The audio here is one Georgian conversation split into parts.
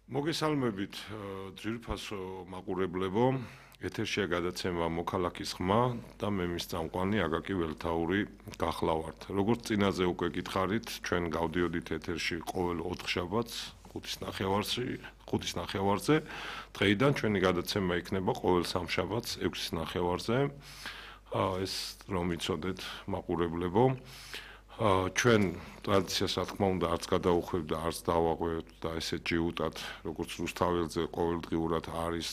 მოგესალმებით ძვირფასო მაყურებლებო, ეთერშია გადაცემა მოქალაქის ხმა და მე მის წამყვანი აკაკი ველთაური გახლავართ. როგორც წინაზე უკვე გითხარით, ჩვენ გავდიოდით ეთერში ყოველ 4 შაბათს 5:30-ზე. დღეიდან ჩვენი გადაცემა იქნება ყოველ 3 შაბათს 6:30-ზე. ეს რომ იცოდეთ მაყურებლებო, ჩვენ ტრადიციას რა თქმა უნდა არც გადაუხვევთ და არც დავაღვევთ და ესე ჯიუტად როგორც რუსთაველზე ყოველდღიურად არის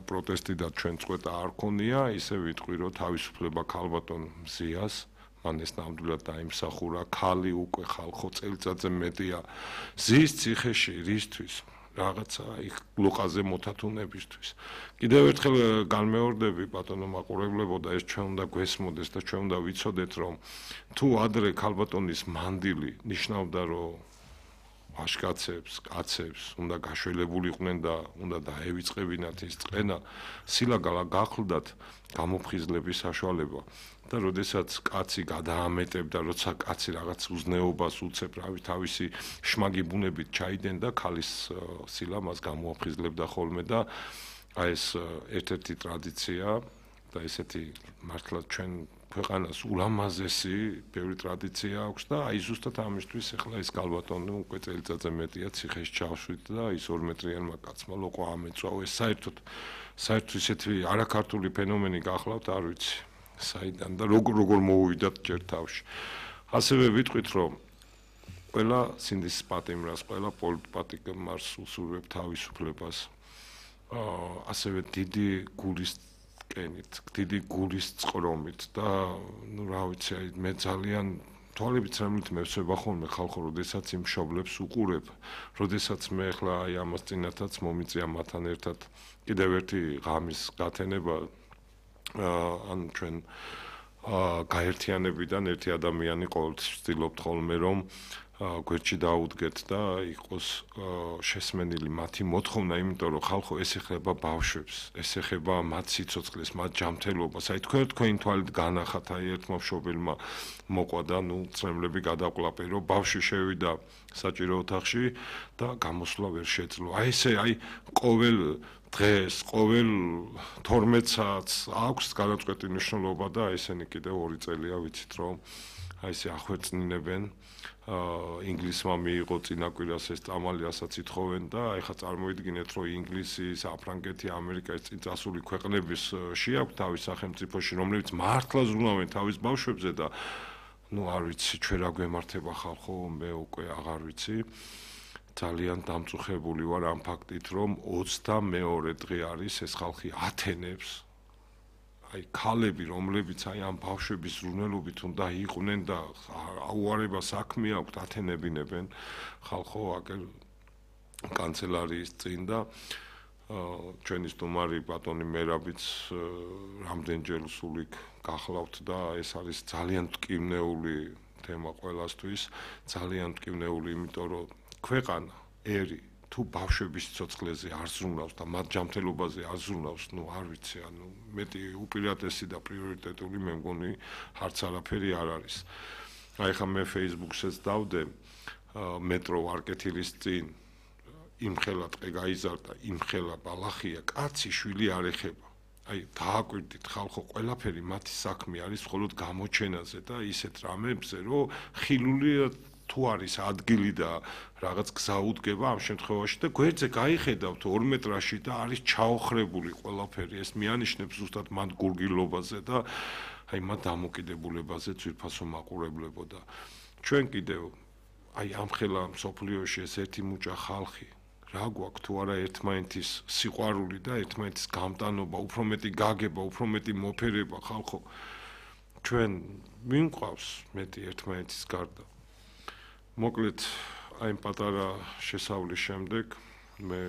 პროტესტი და ჩვენ წვეტა არ ქონია, ისე ვიტყვი რომ თავისუფლება ქალბატონ მზიას მან ეს ნამდვილად დაიმსახურა, ქალი უკვე ხალხო წელიწადზე მეტია ზის ციხეში რისთვის რაღაცა იქ ლოყაზე მოთათუნებისთვის. კიდევ ერთხელ განმეორდები ბატონო მაყურებლებო და ეს ჩვენ უნდა გვესმოდეს და ჩვენ უნდა ვიცოდეთ რომ თუ ადრე ქალბატონის მანდილი ნიშნავდა რომ ვაჟკაცებს, კაცებს უნდა გაშველებულიყვნენ და უნდა დაევიწყებინათ ის წყენა, სილაგალა გახლდათ გამოფხიზლების საშუალება. და როდესაც კაცი გადაამეტებდა, როცა კაცი რაღაც უზნეობას უცებ, რავი, თავისი შმაგი ბუნებით ჩაიდენდა, ქალის სილა მას გამოაფხიზლებდა ხოლმე და აი ეს ერთ-ერთი ტრადიცია და ესეთი მართლა ჩვენ ქვეყანას ულამაზესი ბევრი ტრადიცია აქვს და აი ზუსტად ამისთვის ახლა ეს ქალბატონი უკვე წელიწადზე მეტია ციხეში ჩავშვით და ის 2 მეტრიანმა კაცმა ლოყვა ამეწვა. ეს საერთოდ ისეთი არაქართული ფენომენი გახლავთ, არ ვიცი. საიდან და როგორ მოუვიდათ ჯერ თავში. ასევე ვიტყვით რომ ყველა სინდისის პატიმრას, ყველა პოლიტპატიმარს უსურვებ თავისუფლებას. ასევე დიდი გულის კენით, დიდი გულის წყრომით და ნუ რა ვიცი, აი მე ძალიან თვალებით ცრემლით მევსება ხოლმე ხალხო, როდესაც იმ მშობლებს უყურებ, როდესაც მე ახლა აი ამას წინათაც მომიწია მათთან ერთად კიდევ ერთი ღამის გათენება ან ჩვენ გაერთიანებიდან ერთი ადამიანი ყოველთვის ვცდილობთ ხოლმე რომ გვერდში დაუდგეთ და იყოს შესმენილი მათი მოთხოვნა, იმიტომ რომ ხალხო ეს ეხება ბავშვებს, ეს ეხება მათ სიცოცხლეს, მათ ჯანმრთელობას. აი თქვენი თვალით განახათ, აი ერთმა მშობელმა მოყვა და ნუ წრემლები გადაყლაპე, რომ ბავშვი შევიდა საჭირო ოთახში და გამოსვლა ვერ შეძლო. აი ესე, აი ყოველ დღეს, ყოველ 12 საათს აქვს გადაწყვეტი მნიშვნელობა და ესენი კიდევ 2 წელია ვიცით რომ აი ესე ახვეწნინებენ. ინგლისმა მიიღო წინაკვირას ეს წამალი, რასაც ითხოვენ და ეხლა წარმოიდგინეთ რომ ინგლისი, საფრანგეთი, ამერიკა ეს წინწასული ქვეყნების შეაქვთ თავის სახელმწიფოში, რომლებიც მართლა ზრუნავენ თავის ბავშვებზე და ნუ არ ვიცი, ჩვენ რა გვემართება ხალხო, მე უკვე აღარ ვიცი. ძალიან დამწუხებული ვარ ამ ფაქტით, რომ 22 დღე არის ეს ხალხი ათენებს აი ქალები, რომლებიც აი ამ ბავშვების ზრუნველობით უნდა იყვნენ და აუარება საქმე აქვთ, ათენებინებენ ხალხო აკელ კანცელარიის წინ და ჩვენი სტუმარი ბატონი მერაბიც რამდენჯერ სულიქ გახლავთ და ეს არის ძალიან მტკივნეული თემა ყველასთვის, ძალიან მტკივნეული, იმიტომ რომ ქვეყანა, ერი თუ ბავშვების ცოცხლებზე არ ზრუნავს და მათ ჯანმრთელობაზე არ ზრუნავს, ნუ არ ვიცი, ანუ მეტი უპირატესი და პრიორიტეტული მე მგონი არც არაფერი არ არის. აი ხა მე Facebook-საც დავდე მეტრო ვარკეთილის წინ იმხელა ტყე გაიზარდა, იმხელა ბალახია, კაცი შვილი არ ეხება. აი დააკვირდით ხალხო, ყველაფერი მათი საქმე არის მხოლოდ გამოჩენაზე და ისეთ რამებზე, რომ ხილულია თუ არის ადგილი და რაღაც გზა უდგება ამ შემთხვევაში და გვერდზე გაიხედავთ 2 მეტრაში და არის ჩაოხრებული ყველაფერი, ეს მიანიშნებს ზუსტად მათ გურგილობაზე და აი მათ დამოკიდებულებაზე ძვირფასო მაყურებლებო და ჩვენ კიდევ აი ამხელა მსოფლიოში ეს ერთი მუჭა ხალხი რა გვაქვს თუ არა ერთმანეთის სიყვარული და ერთმანეთის გამტანობა, უფრო მეტი გაგება, უფრო მეტი მოფერება ხალხო. ჩვენ ვინყავს მეტი ერთმანეთის გარდა. მოკლედ აი პატარა შესავლის შემდეგ მე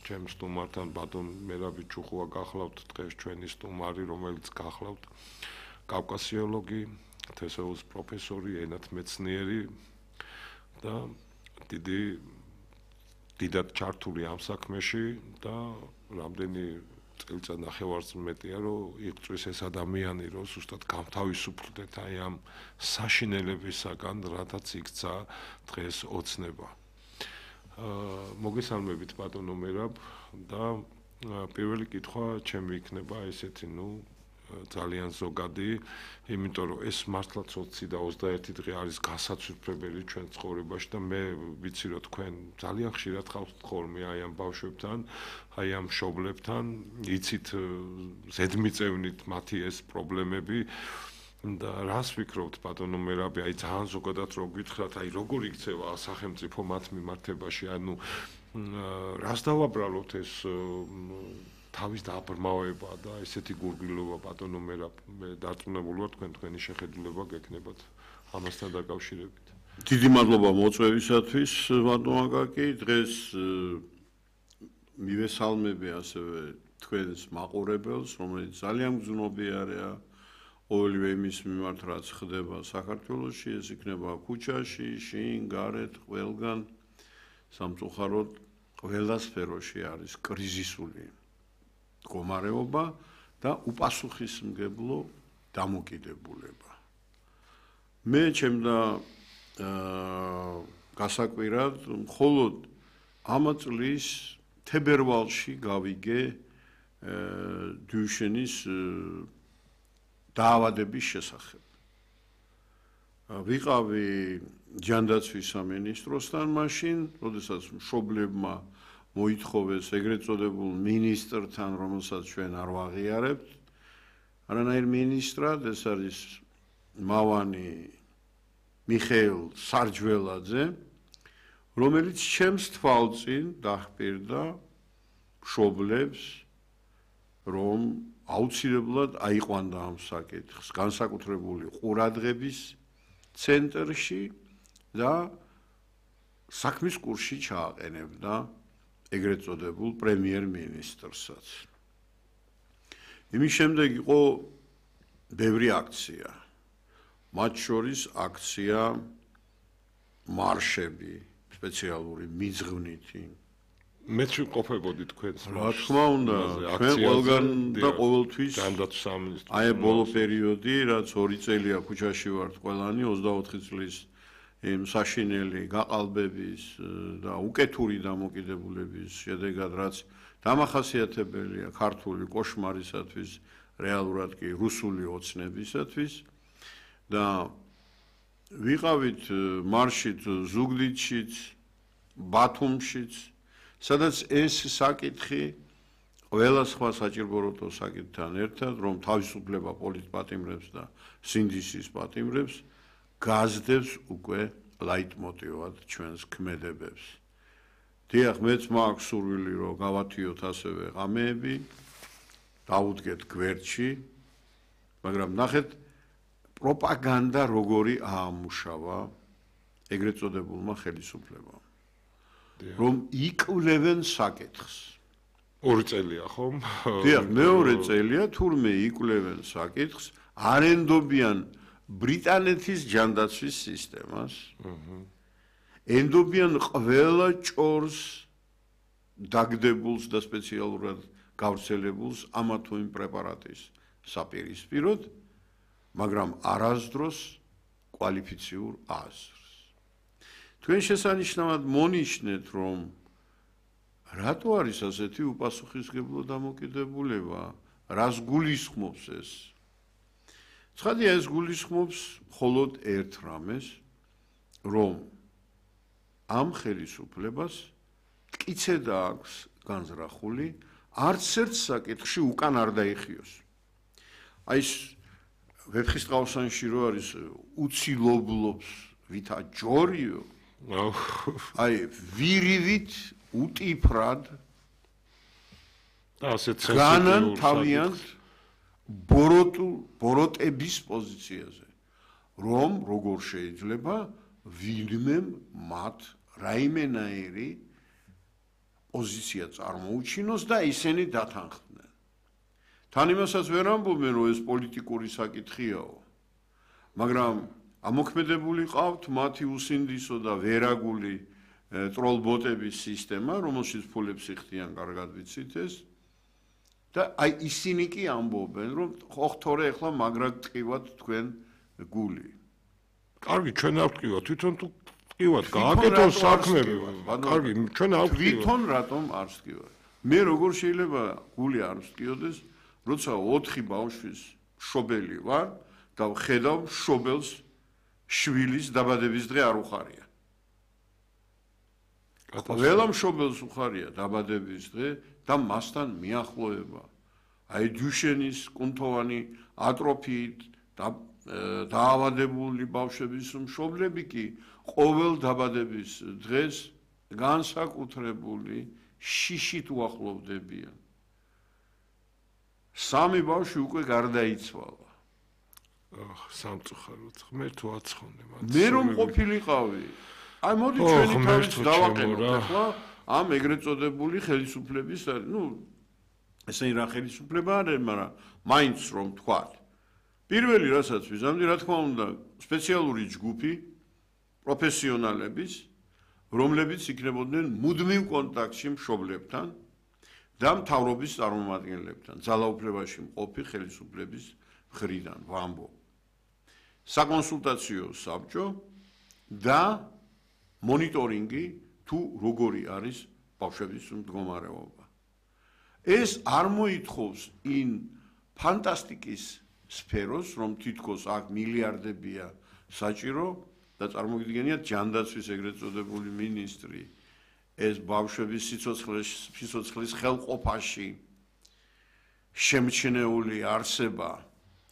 ჩემს სტუმართან ბატონ მერაბი ჩუხუა გახლავთ დღეს ჩვენი სტუმარი, რომელიც გახლავთ კავკასიოლოგი, თესოუს პროფესორი, ენათმეცნიერი და დიდად ჩართული ამ საქმეში და რამდენი წელიწად ნახევარს მეტია რომ იღწვის ეს ადამიანი რომ ზუსტად გამთავისუფლდეთ აი ამ საშინელებისაგან, რადაც იქცა დღეს ოცნება. მოგესალმებით ბატონო მერაბ და პირველი კითხვა ჩემი იქნება ესეთი, ძალიან ზოგადი, იმიტომ რომ ეს მართლაც 20 და 21 დღე არის გასაცვიფრებელი ჩვენ ცხოვრებაში და მე ვიცი რომ თქვენ ძალიან ხშირად ხალხთ ხოლმე აი ამ ბავშვებთან, აი ამ მშობლებთან, იცით ზედმიწევნით მათი ეს პრობლემები და რას ვფიქრობთ ბატონო მერაბი, აი ძალიან ზოგადად რო გითხრათ, აი როგორ იქცევა სახელმწიფო მათ მიმართებაში, ანუ რას დავაბრალოთ ეს თავის დაბრმავება და ესეთი გურგილობა ბატონო მერაბ, მე დარწმუნებული ვარ თქვენი შეხედულება გექნებათ ამასთან დაკავშირებით. დიდი მადლობა მოწვევისათვის ბატონო აკაკი, დღეს მივესალმები ასევე თქვენს მაყურებელს, რომელიც ძალიან გრძნობიარეა ყოველივე იმის მიმართ, რაც ხდება საქართველოში, ეს იქნება ქუჩაში, შინ, გარეთ, ყველგან, სამწუხაროდ ყველა სფეროში არის კრიზისული მდგომარეობა და უპასუხისმგებლო დამოკიდებულება. მე ჩემდა გასაკვირად მხოლოდ ამ წლის თებერვალში გავიგე დიუშენის დაავადების შესახებ. ვიყავი ჯანდაცვის სამინისტროსთან მაშინ, როდესაც მშობლებმა მოითხოვეს ეგრეთ წოდებულ მინისტრთან, რომელსაც ჩვენ არ ვაღიარებთ, არანაირ მინისტრად, ეს არის მავანი მიხეილ სარჯველაძე, რომელიც ჩემს თვალწინ დაჰპირდა მშობლებს, რომ აუცილებლად აიყვანდა ამ საკითხს განსაკუთრებული ყურადღების ცენტრში და საქმის კურსში ჩააყენებდა ეგრეთ წოდებულ პრემიერ-მინისტრსაც. იმის შემდეგ იყო ბევრი აქცია, მათ შორის აქცია მარშები, სპეციალური მიძღვნითი. მეც ვიყოფებოდი თქვენს რა თქმა უნდა, ჩვენ ყველგან და ყოველთვის ჯანდაცვის სამინისტრო. აი ბოლო პერიოდი, რაც 2 წელია ქუჩაში ვართ ყველანი 24 წლის იმ საშინელი გაყალბების და უკეთური დამოკიდებულების შედეგად, რაც დამახასიათებელია ქართული კოშმარისათვის, რეალურად კი რუსული ოცნებისათვის და ვიყავით მარშით ზუგდიდშიც, ბათუმშიც, სადაც ეს საკითხი ყველა სხვა საჭიროებო საკითხთან ერთად, რომ თავისუფლება პოლიტპატიმრებს და სინდისის პატიმრებს გაზდებს უკვე ლაიტმოტივად ჩვენს ქმედებებს. დიახ, მეც მაქვს სურვილი, რომ გავათიოთ ასევე ღამეები, დავუდგეთ გვერდში, მაგრამ ნახეთ პროპაგანდა როგორი აამუშავა ეგრეთ წოდებულმა ხელისუფლებამ. რომ იკვლევენ საკითხს. 2 წელია ხომ? დიახ, მეორე წელია, თურმე იკვლევენ საკითხს, არენდობიან ბრიტანეთის ჯანდაცვის სისტემას. ენდობიან ყველა ჭორს დაგდებულს და სპეციალურად გავრცელებულს ამა თუ იმ პრეპარატის საპირისპიროდ, მაგრამ არასდროს კვალიფიციურ აზრს. თქვენ შესანიშნავად მონიშნეთ, რომ რატო არის ასეთი უპასუხისმგებლო დამოკიდებულება, რას გულისხმობს ეს? ცხადია, ეს გულისხმობს მხოლოდ ერთ რამეს, რომ ამ ხელისუფლებას მტკიცედ აქვს განზრახული, არც ერთ საკითხში უკან არ დაიხიოს. აი ეს ვეფხისტყაოსანში რო არის უცილობლობს ვითა ჯორიო, აი ვირივით უტიფრად და ასეთ განან თავიანთ ბოროტების პოზიციაზე, რომ როგორ შეიძლება ვინმე მათ რაიმენაირი პოზიცია წარმოუჩინოს და ისინი დათანხმდნენ. თან იმასაც ვერ ამბობენ, რომ ეს პოლიტიკური საკითხიაო, მაგრამ ამოქმედებული ყავთ მათი უსინდისო და ვერაგული ტროლბოტების სისტემა, რომელშიც ფულებს იხდიან, კარგად ვიცით ეს. და აი ისინი კი ამბობენ, რომ ხო თორე ახლა მაგრად ტყივათ თქვენ გული. კარგი, ჩვენ არ ვტყივათ, თვითონ თუ ტყივათ, გააკეთონ საქმე. კარგი, ჩვენ არ ვთქვი. თვითონ რატომ არ ვსკივარ? მე როგორ შეიძლება გული არ ვსკიოდეს, როცა 4 ბავშვის მშობელი ვარ და ვხედავ მშობელს შვილის დაბადების დღე არ უხარია. ყველა მშობელს უხარია დაბადების დღე და მასთან მიახლოება. აი დუშენის კუნთოვანი ატროფიით დაავადებული ბავშვების მშობლები კი ყოველ დაბადების დღეს განსაკუთრებული შიშით უახლოვდებიან. 3 ბავშვი უკვე გარდაიცვალა. სამწუხაროდ ღმერთო აცხონე მათ. მე რომ ყოფილიყავი. აი მოდი ჩვენი თავის დავაყენოთ ახლა ამ ეგრეთ წოდებული ხელისუფლების, ესენი რა ხელისუფლება არის, მაგრამ მაინც რომ თქვათ. პირველი რასაც ვიზამდი, რა თქმა უნდა, სპეციალური ჯგუფი პროფესიონალების, რომლებიც იქნებოდნენ მუდმივ კონტაქტში მშობლებთან და მთავრობის წარმომადგენლებთან, ძალაუფლებაში მყოფი ხელისუფლების მხრიდან, ვამბობ. საკონსულტაციო საბჭო და მონიტორინგი თუ როგორი არის ბავშვების მდგომარეობა. ეს არ მოითხოვს იმ ფანტასტიკის სფეროს, რომ თითქოს აქ მილიარდებია საჭირო და წარმოგიდგენიათ ჯანდაცვის ეგრეთ წოდებული მინისტრი ეს ბავშვების სიცოცხლის ხელყოფაში შემჩნეული არსება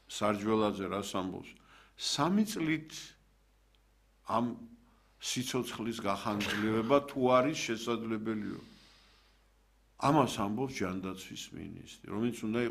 სარჯველაძე რას ამბობს 3 წლით ამ სიცოცხლის გახანგრძლივება თუ არის შესაძლებელიო ამას ამბობს ჯანდაცვის მინისტრი, რომელიც უნდა